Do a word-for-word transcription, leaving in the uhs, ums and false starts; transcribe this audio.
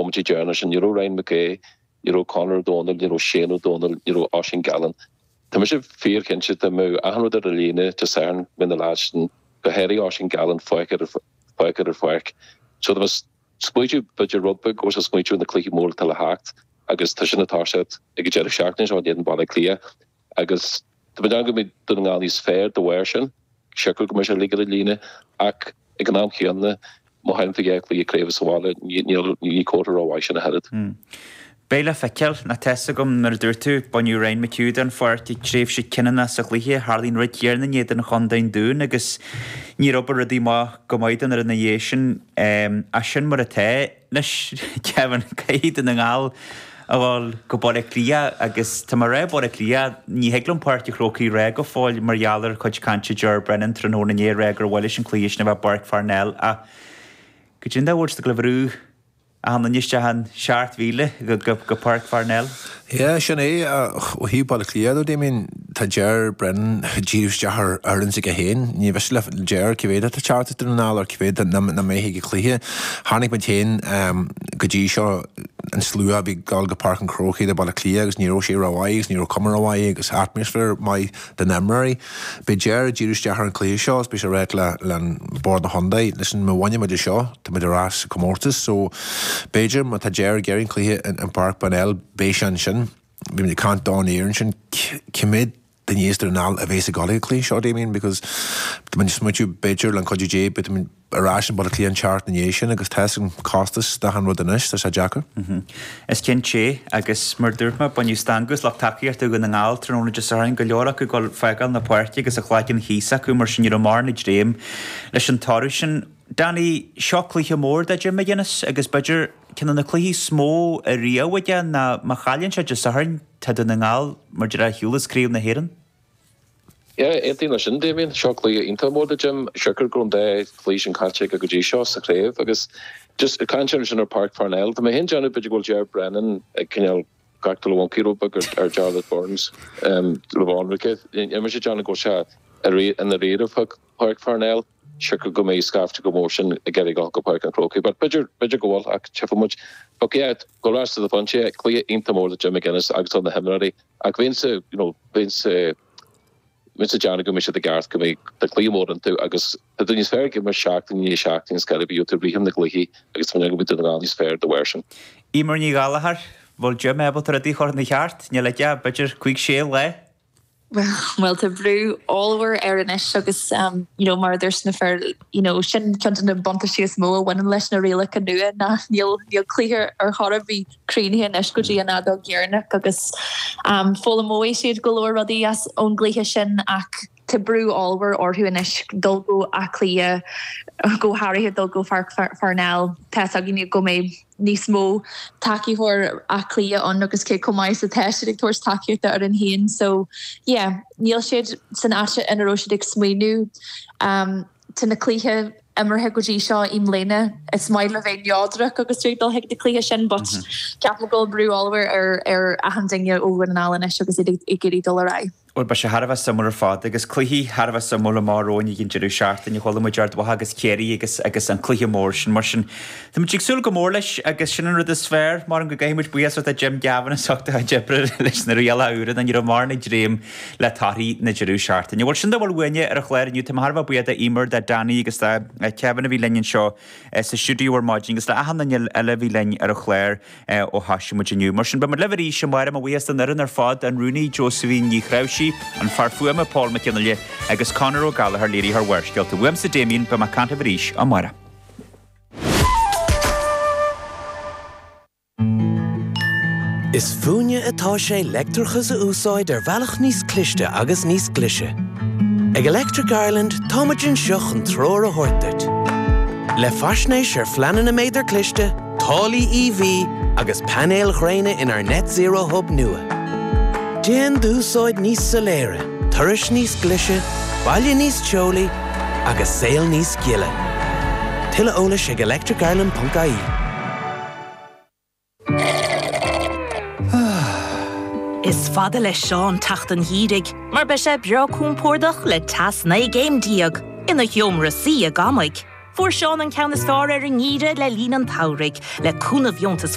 nóiméidí deireanacha sin, ní raibh Ryan McGee, ní raibh Conor O'Donnell, ní raibh Shane O'Donnell, ní raibh Oisín Gallen. Tá mise fíorchinnte dá mbeadh achan rud ar a líne Dé Sathairn go mbeadh na lads sin, go háirithe Oisín Gallen, fágtha ar an pháirc. So tá mé ag smaoitiú b'fhéidir rud beag go bhfuil sé ag smaoitiú ar na cluichí móra atá le theacht agus tá sin ag toiseacht ag an deireadh seachtaine seo in éadan Baile Átha Cliath agus tá mé ag déanamh go mbeidh Dún na nGall níos fearr de bharr sin, siocair go mbeidh sé uilig ar an líne ach ag an am chéanna má chailleann tú dhá chluiche craoibhe sa bhaile ní comhartha rómhaith sin ach oiread. Beidh le feiceáil, nó tá 'fhios agam mar a dúirt tú, baineadh Ryan McHugh den pháirc ag tréimhse cinniúnach sa chluiche, tharla an rud céanna in éadan Chontae an Dúin agus níor obair rudaí maith go maith don fhoireann ina dhiaidh sin. Ach sin mar atá. Anois, Kevin, caithfidh Dún na nGall a dhul go Baile Átha Cliath agus tá mé ag rá Baile Átha Cliath, ní thig liom Páirc an Chrócaigh a rá go fóill mar gheall ar chuid cainte Ger Brennan tráthnóna inné ag rá gur mhaith leis an cluiche sin a bheith i bPáirc Pharnell ach go dtí an dá bhfuil siad ag dul a bhrú achan duine isteach an seacht mhíle go Páirc Pharnell. Yeah, sin é. Ó thaobh Baile Átha Cliath though, Damien, tá Ger Brennan ag díriú isteach ar fhoireann s'aige féin. Ní mhiste le Ger cé mhéad atá ag teacht as Dún na nGall or cé mhéad nach mbeidh ag an chluiche. Chonaic muid féin go dtí seo an slua a bhí ag dul go Páirc an Chrócaigh do Baile Átha Cliath agus ní raibh sé rómhaith agus ní raibh cuma rómhaith agus atmaisféar maith do na himreoirí. Beidh Ger ag díriú isteach ar an chluiche seo agus beidh sé ag ráit le le Bord na Chontae, listen, má bhaineann muid é seo, tá muid ar ais sa chomórtas so b'fhéidir má tá Ger ag iarraidh an cluiche in Páirc Parnell beidh sé ansin. Bhí muid ag caint don air ansin cé mhéad duine as Dún na nGall a bheas ag dul ag an chluiche seo, Damien, because tá muid ag smaointiú b'fhéidir le an cuidiú Dé beidh muid ar ais in Baile Átha Cliath an tseachtain ina dhiaidh sin agus tá an costas d'achan rud anois, tá sé deacair. Is cinnte é agus mar dúirt mé, baineadh stangadh as lucht tacaíochta Dhún na nGall tráthnóna Dé Sathairn, go leor acu ag dul fágáil na páirce agus a chlaigeann thíos acu mar sin ní raibh mórán ag dréim leis an toradh sin. Danny, seo cluiche mór do Jim McGuinness agus b'fhéidir ceann de na cluichí is mó ariamh aige ná má chailleann sé Dé Sathairn tá Dún na nGall mar a déarfá ar shiúl as Craobh na hÉireann. Yeah, aontaím leis sin, Damien. Seo cluiche iontach mór do Jim. Siocair go raibh an dá chluiche sin caillte aige go dtí seo sa chraobh agus just ag caint ansin ar Páirc Pharnell, tá mé féin ag déanamh b'fhéidir go bhfuil Ger Brennan ag cineál gach dul a mhoncaí rud beag ar ar Jarlath Burns le bhánraice. Níl mise ag déanamh go bhfuil sé i ndáiríre fá Páirc Pharnell, siocair go mbeidh scaifte chomh mór sin ag iarraidh dul go Páirc an Chrócaigh. But b'fhéidir, b'fhéidir go bhfuil ach tchífidh muid. But yeah, go ar ais to the phointe, cluiche iontach mór do Jim McGuinness agus do na himreoirí. Ach bheinnse, you know, bheinnse, bheinnse ag déanamh go mbeidh siad i gceart, go mbeidh tá cluiche mór iontu agus tá tú níos fearr ag imirt seachtain i ndiaidh seachtaine is go bhfuil tú rithim na gcluichí agus tá mé ag déanamh go mbeidh Dún na nGall níos fearr de bharr sin. Eimear Ní Ghallchóir, bhfuil Jim ábalta rudaí a chur ina cheart? Níl aige ach b'fhéidir cúig sé lá. Bhuel tá brú ollmhór air anois agus you know mar a dúirt na fir you know sin ceann de na buntáistí is mó a bhaineann leis na rialacha nua ná níl níl cluiche ar chor ar bith críochnaithe anois go dtí an fheadóg dheireanach agus um foghlaimeoidh siad go leor rudaí as ón gcluiche sin ach tá brú ollmhór orthu anois dul go Áth Cliath go háirithe dul go Pháirc Pharnell tá a fhios againn go mbeidh níos mó tacaitheoir Áth Cliath ann agus cé chomh maith is atá siad ag tabhairt tacaíochta ar an féin so yeah níl siad san áit ina raibh siad ag smaoineamh um tá na cluiche imeartha go dtí seo i mbliana is maith le bheith neodrach agus tú ag dul chuig na cluiche sin but ceapaim go bhfuil brú ollmhór ar ar achan duine ó Dhún na nGall anois agus iad ag iarraidh dul ar aghaidh. Bhuel, beidh sé thar a bheith suimiúil ar fad agus cluichí thar a bheith suimiúil amach romhainn ag an deireadh seachtaine. Chuala muid Ard Mhacha agus Ciarraí agus agus an cluiche mór sin. Mar sin, tá muid ag súil go mór leis agus sin an rud is fearr. Mar go gcaithfidh muid buíochas a Jim Gavin as ucht a chuid oibre leis na rialacha úra ní raibh mórán ag dréim le torthaí na deireadh seachtaine. Bhuel, sin dá bhfuil uainne ar an chlár inniu. Tá mé thar a bheith buíoch d'Eimear, do Danny agus do Kevin a bhí linn anseo sa stiúideo ar maidin agus le achan duine eile a bhí linn ar an chlár ó thoisigh muid inniu. Mar sin, beidh muid libh arís amárach. Mo bhuíochas don fhoireann ar fad, an rúnaí Josephine Ní Chráimhsí, an fear fuaime Paul Mac Fhionnaile agus Conor Ó Gallchóir, léiritheoir Bharrscéalta. Uaimse Damien, beidh mé ag caint libh arís amárach. Is fúinne atá sé leictreachas a úsáid ar bhealach níos cliste agus níos glaise. Ag Electric Ireland táimid anseo chun treoir a thabhairt duit. Le faisnéis ar phleananna méadar cliste, táillí E V agus painéil ghréine inár Net Zero Hub nua. Déan d'úsáid níos soiléire, turais níos glaise, baile níos teolaí agus saol níos gile. Tuilleadh eolais ag electricireland ponc I E. Is fada le Seán teacht an gheimhridh mar beidh sé breá compordach le teas naoi gcéim déag ina sheomra suí i gCamaigh. Fuair Seán an ceann is fearr ar an ngeimhreadh le linn an tsamhraidh, le cúnamh dheontas